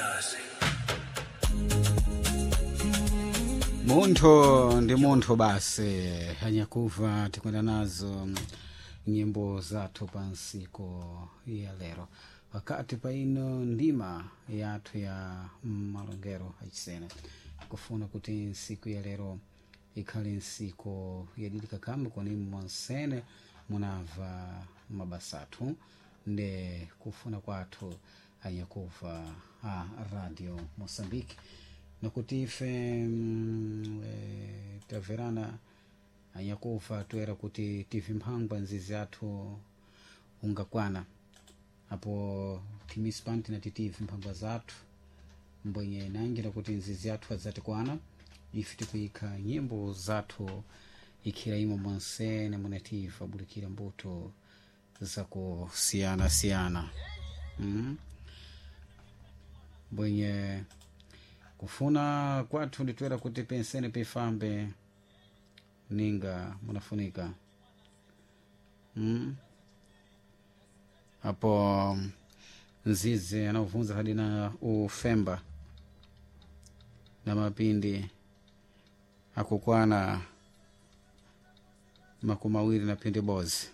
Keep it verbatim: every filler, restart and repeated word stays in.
Se hace. Munthu ndi munthu basi anyakuva tikwenda nazo nyimbo zathu pa nsiku ya lero pakati pa ino ndima yathu ya malongero achisena kufuna kuti nsiku ya lero ikhale nsiku yadilika kamba koni monsene munamva mabasa athu nde kufuna kwathu anyakuva a Radio Moçambique nakuti ife mm, eh, tamverana anyakuva toera kuti tive mphangwa nzizi athu ungakwana apo timispan tinati tive mphangwa zathu mbwenye nangira kuti nzizi athu adzatikwana ife tikuyikha nyimbo zathu ikhira imo monsene munativa bulikira mbuto zakusiyana-siyana mm? mbwenye kufuna kwathu nditwera kuti pensene pifambe ninga munafunika mm? apo nzizi anavunza hadi na ufemba na mapindi akukwana makumi awiri na pindi bozi.